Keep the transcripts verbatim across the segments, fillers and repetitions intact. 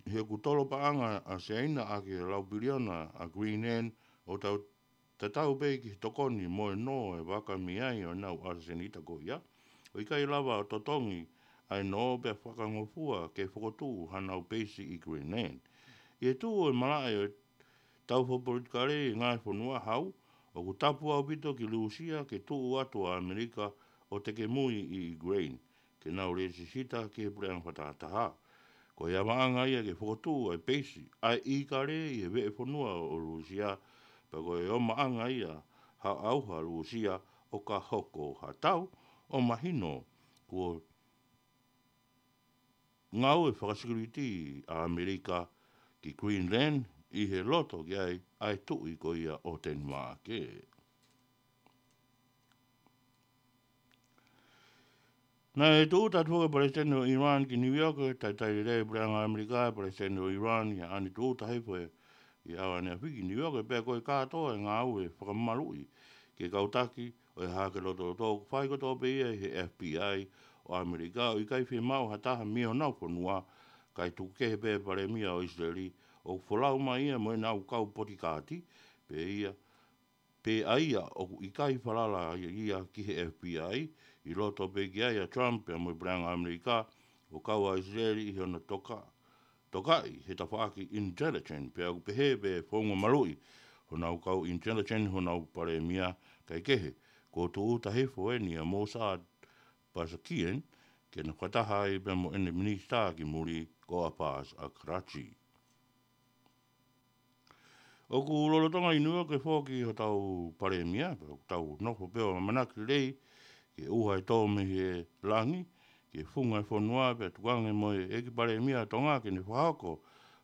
He ʻoku tolo paʻanga ʻa Siaina ʻaki e lau piliona ʻa Greenland ʻo tau tatau pē ki he tokoni mo e nō e vaka mei ai ʻo ʻenau ʻasenita ko ia. ʻOku ʻikai lava ʻo totongi ʻa e nō pea fakangofua ke fokotuʻu hanau peisi ʻi Greenland. ʻI he tuʻu e malaʻe ʻo e tau fakapolitikale ʻi he ngaahi fonua hau, ʻoku tapu ʻaupito ki Lūsia ke tuʻu atu ʻa ʻAmelika ʻo tekemui ʻi Ukraine, ke nau lēsisita ki he puleʻanga fakatahataha. Ko e ʻamaʻanga ia ke fokotuʻu ʻa e peisi ʻa e ʻīkale ʻi he veʻe fonua ʻo Lūsia, pea ko e ʻomaʻanga ia ha ʻauha Lūsia ʻo ka hoko ha tau ʻo mahino kuo ngāue fakasekuliti ʻa ʻAmelika ki Greenland ʻi he loto ki ai ʻa e tuʻi ko ia ʻo Tenimaʻake. Naʻe tūʻuta atu foki e Palesiteni ʻo ʻIran ki New York, ʻo talitali lelei e puleʻanga ʻAmelika e Palesiteni ʻo ʻIran, ʻi he ʻaho ni tūʻuta hifo ʻi he ʻaho ʻaneafi ki New York, pea ko e kātoa e ngāue fakamaluʻi ki he kau taki ʻo e hahake lotoloto ʻoku fai kotoa pē ia ʻi he F B I ʻo ʻAmelika, ʻo ʻikai fiemaʻu ha taha mei honau fonua, kae tuku kehe pē e palēmia ʻo ʻIsileli, ʻoku folau mai ia mo ʻenau kau potikaati, pea ia, pea ʻa ia ʻoku ʻikai falala ia ki he F B I, ʻi loto pē ki ai ʻa Trump pea mo e puleʻanga ʻAmelika, ʻo kau ʻa ʻIsileli ʻi hono toka, tokaʻi he tafaʻaki intelligence, pea ʻoku pehē pē founga maluʻi honau kau intelligence honau palēmia, kae kehe, kuo tūʻuta hifo eni ʻa Mossad Basakian, ke na fakataha ai pea mo ʻene minisitā ki muli ko Abbas Araghchi. ʻOku lolotonga ʻi New York foki hotau palēmia, pea ʻoku tau nofo pē ʻo ʻamanaki lelei ki he ʻuha ʻe tō mei he langi ki he funga e fonua, pea tukuange mo e ʻEiki Palēmia ʻo Tonga ke ne fakahoko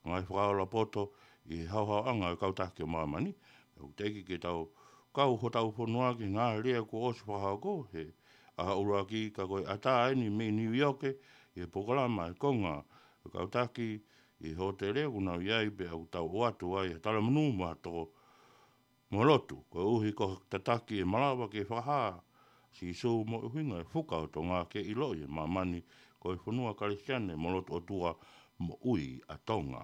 ngaahi fakaola poto ʻi he haohaoʻanga e kau taki ʻo māmani. Pea ʻoku teʻeki ke tau kau hotau fonua ki he ngaahi lea kuo ʻosi fakahoko he ʻaho ʻuluaki, ka ko e ʻatā eni mei New York ʻi he polokalama e konga e kau taki ʻi he hōtele ʻoku nau ʻi ai, pea ʻoku tau ʻoatu ai ha talamonū mo ha tō mo lotu, koeʻuhi ko e tataki e malava ke fakahā Sīsū mo e ʻuhinga e fuka ʻo Tonga ke ʻiloʻi ʻe māmani ko e fonua Kalisitiane mo lotu ʻOtua moʻui ʻa Tonga.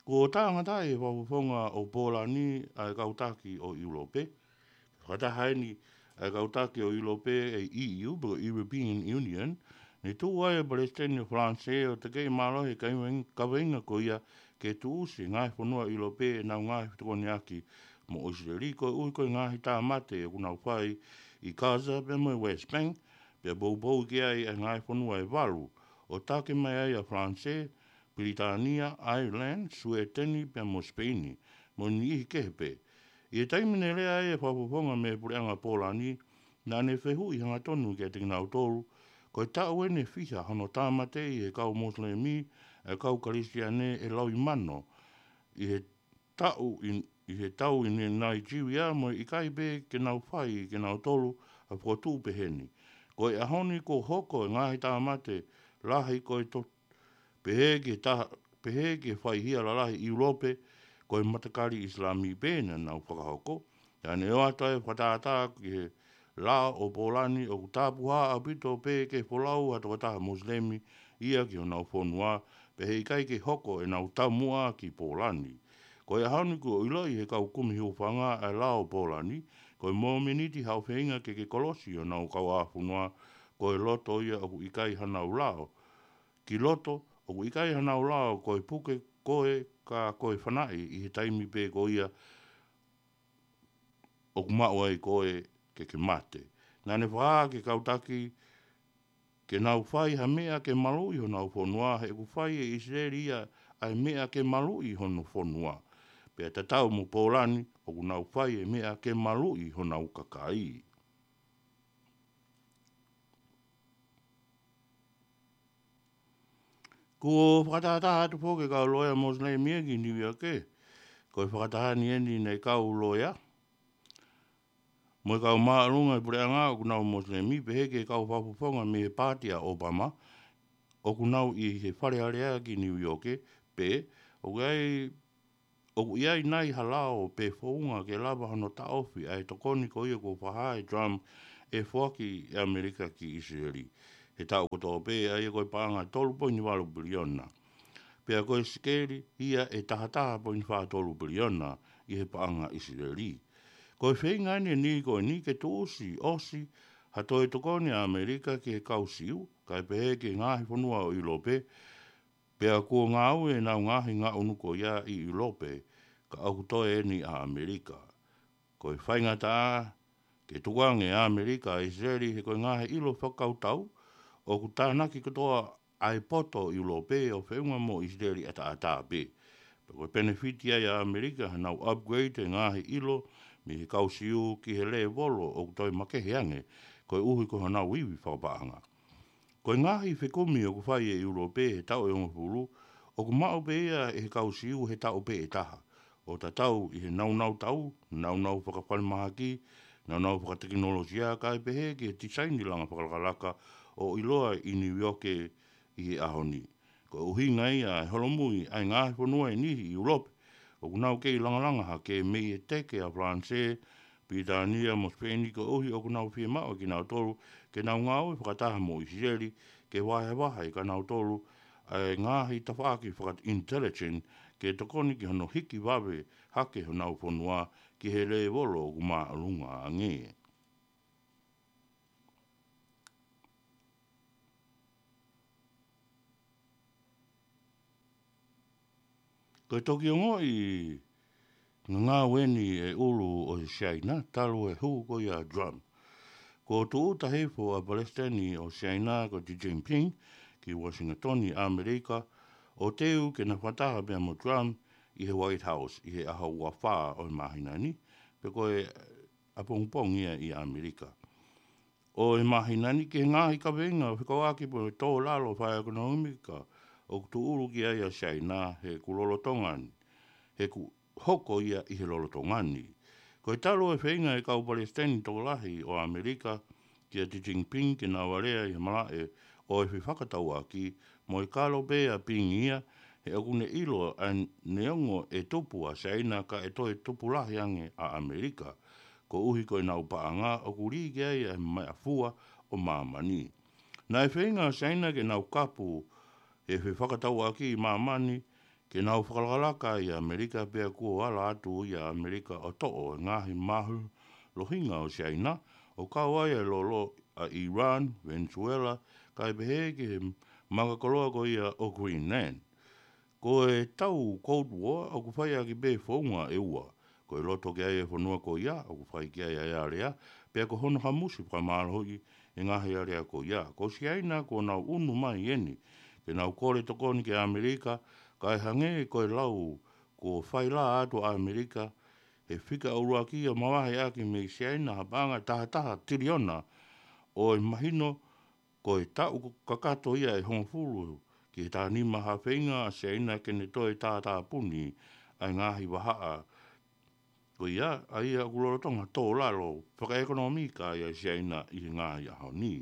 Kuo tāngataʻi ʻe he fakafofonga ʻo Pōlani ʻa e kau taki ʻo ʻIulope. Fakataha eni ʻa e kau taki ʻo ʻIulope, ʻa e E U, pe ko e European Union, ne tuʻu ai e Palesiteni ʻo Falanisē ʻo tekeʻi mālohi e kaveinga, kaveinga ko ia ke tuʻusi e ngaahi fonua ʻIulope ʻenau ngaahi fetokoniʻaki mo ʻIsileli, koeʻuhi ko e ngaahi tāmate ʻoku nau fai ʻi Gaza pea mo e West Bank, pea poupou ki ai ʻa e ngaahi fonua ʻe valu, ʻo taki mai ai ʻa Falanisē, Pilitānia, Ireland, Suēteni pea mo Sipeini, mo e niʻihi kehe pē. ʻI he taimi ne lea ai e fakafofonga mei he puleʻanga Pōlani, naʻa ne fehuʻi hangatonu kiate kinautolu, ko e taʻu eni ʻe fiha hono tāmateʻi ʻe he kau Mosilemi ʻa e kau Kalisitiane ʻe laui mano ʻi he taʻu ʻi, ʻi he tau ʻi Nai-, Naijilia, mo e ʻikai pē ke nau fai ʻe kinautolu ha fokotuʻu peheni. Ko e ʻaho ni kuo hoko e ngaahi tāmate lahi ko e to-, pehē ki he taha, pehē ki he faihia lalahi ʻIulope, ko e matakali ʻIsilami pē naʻa nau fakahoko. Naʻa ne ʻoatu ai e fakatātā ki he lao ʻo Pōlani ʻoku tāpuhā ʻaupito pē ke folau ha tokotaha Mosilemi ia ki honau fonua, pea he ʻikai ke hoko ʻenau taumuʻa ki Pōlani. Ko e ʻaho ni kuo ʻiloʻi ʻe he kau kumi hūfanga ʻa e lao ʻo Pōlani, ko e mōmeniti haʻu feinga ke ke kolosi honau kauʻāfonua, ko e loto ia ʻoku ʻikai hanau lao. Ki loto, ʻoku ʻikai hanau lao, ko e puke koe ka ko e fanaʻi ʻi he taimi pē ko ia ʻoku maʻu ai koe ke ke mate. Naʻa ne fakahā ki he kau taki ke nau fai ha meʻa ke maluʻi honau fonua, he ʻoku fai ʻe ʻIsileli ia ʻa e meʻa ke maluʻi hono fonua. Pea tatau mo Pōlani, ʻoku nau fai e meʻa ke maluʻi honau kakai. Kuo fakatātā atu foki e kau loea Mosilemi ia ki Niu ʻIoke. Ko e fakataha ni eni ʻa e kau loea mo e kau māʻolunga ʻi he puleʻanga ʻoku nau Mosilemi, pehē ki he kau fakafofonga mei he paati ʻa ʻOpama ʻoku nau ʻi he Fale Alea ki Niu ʻIoke, pea ʻoku ʻi ai ʻoku ʻi ai nai ha lao pe founga ke lava hono taʻofi ʻa e tokoni ko ia kuo fakahā ʻe Trump ʻe foaki ʻe ʻAmelika ki ʻIsileli. he taʻu kotoa pē, ʻa ia ko e paʻanga tolu poini valu piliona. Pea ko e sikeli ia ʻe taha taha poini fā tolu piliona ʻi he paʻanga ʻIsileli. Ko e feinga ʻeni ʻe niʻihi ko eni ke tuʻusi ʻosi ha toe tokoni ʻa ʻAmelika ki he kau Siu, kae pehē ki he ngaahi fonua ʻo ʻIulope, pea kuo ngāue ʻenau ngaahi ngaʻunu ko ia ʻi ʻIulope, ka ʻoku toe ʻeni ʻa ʻAmelika. Ko e faingataʻa ke tukuange ʻa ʻAmelika ʻa ʻIsileli he ko e ngaahi ʻilo fakakautau ʻoku tānaki kotoa ʻa e poto ʻIulope ʻo feʻunga mo ʻIsileli ʻataʻatā pē. Pea ko e penefiti ia ʻa ʻAmelika, ʻenau upgrade e ngaahi ʻilo mei he kau Siu ki he lēvolo ʻoku toe makehe ange, koeʻuhi ko honau ivi fakapaʻanga. Ko e ngaahi fekumi ʻoku fai ʻe ʻIulope he taʻu ʻe hongofulu, ʻoku maʻu pē ia ʻe he kau Siu he taʻu pē ʻe taha, ʻo tatau ʻi he naunau tau, naunau fakafalemahaki, naunau fakatekinolosia, kae pehē ki he tisaini langa fakalakalaka ʻo ʻiloa ʻi Niu ʻIoke ʻi he ʻaho ni. Ko e ʻuhinga ia e holomui ʻa e ngaahi fonua ʻe niʻihi ʻi ʻIulope ʻoku nau kei langalanga hake mei he teke ʻa Falanisē, Pilitānia mo Sipeini, koeʻuhi ʻoku nau fiemaʻu ʻe kinautolu ke nau ngāue fakataha mo ʻIsileli ke vahevahe ʻe kinautolu ʻa e ngaahi tafaʻaki faka-intelligence ke tokoni ki hono hiki vave hake honau fonua ki he lēvolo ʻoku māʻolunga ange. Ko e toki ongoʻi ngangau ʻeni ʻe he ʻulu ʻo Siaina talu e hū ko ia ʻa Trump. Kuo tūʻuta hifo ʻa e Palesiteni ʻo Siaina ko Xi Jinping ki Uasingatoni, ʻAmelika, ʻo teu ke na fakataha pea mo Trump ʻi he White House ʻi he ʻaho ua fā ʻo e māhina ni, pe ko e ʻapongipongi ia ʻi ʻAmelika. ʻO e māhina ni ki he ngaahi kaveinga fekauʻaki mo e tō lalo fakaʻekonōmika ʻoku tūʻulu ki ai ʻa Siaina he ʻoku lolotonga ni, he ʻoku hoko ia ʻi he lolotonga ni. Ko e talu e feinga ʻa e kau palesiteni tokolahi ʻo ʻAmelika kia Xi Jinping ke nau alea ʻi he malaʻe ʻo e fefakatauʻaki mo e kalo pē ʻa Ping ia, he ʻoku ne ʻilo ʻa e neongo ʻe tupu ʻa Siaina ka ʻe toe tupu lahi ange ʻa ʻAmelika, koeʻuhi ko ʻenau paʻanga ʻoku lī ki ai ʻa e meʻafua ʻo māmani. Naʻe feinga ʻa Siaina ke nau kapu e fefakatauʻaki ʻi māmani ke nau fakalakalaka ʻi ʻAmelika, pea kuo ala atu ia ʻa ʻAmelika ʻo toʻo e ngaahi mālohinga ʻo Siaina, ʻo kau ai e lolo ʻa Iran, Venezuela, kae pehē ki he makakoloa ko ia ʻo Greenland. Ko e tau Cold War ʻoku fai ʻaki pē founga ʻe ua. Ko e loto ki ai e fonua ko ia ʻoku fai ki ai ʻa e alea, pea ko hono hamusi fakamālohi e ngaahi alea ko ia. Ko Siaina kuo nau ʻunu mai ʻeni ke nau kole tokoni ki ʻAmelika, kae hangē ko e lau kuo fai lā atu ʻa ʻAmelika he fika ʻuluaki ʻo mavahe ʻaki mei Siaina ha paʻanga taha taha tiliona ʻo e mahino ko e taʻu kakato ia ʻe hongofulu ki he taha nima ha feinga ʻa Siaina ke ne toe tātāpuni ʻa e ngaahi vahaʻa ko ia, ʻa ia ʻoku lolotonga tō lalo fakaʻekonōmika ai ʻa Siaina ʻi he ngaahi ʻaho ni.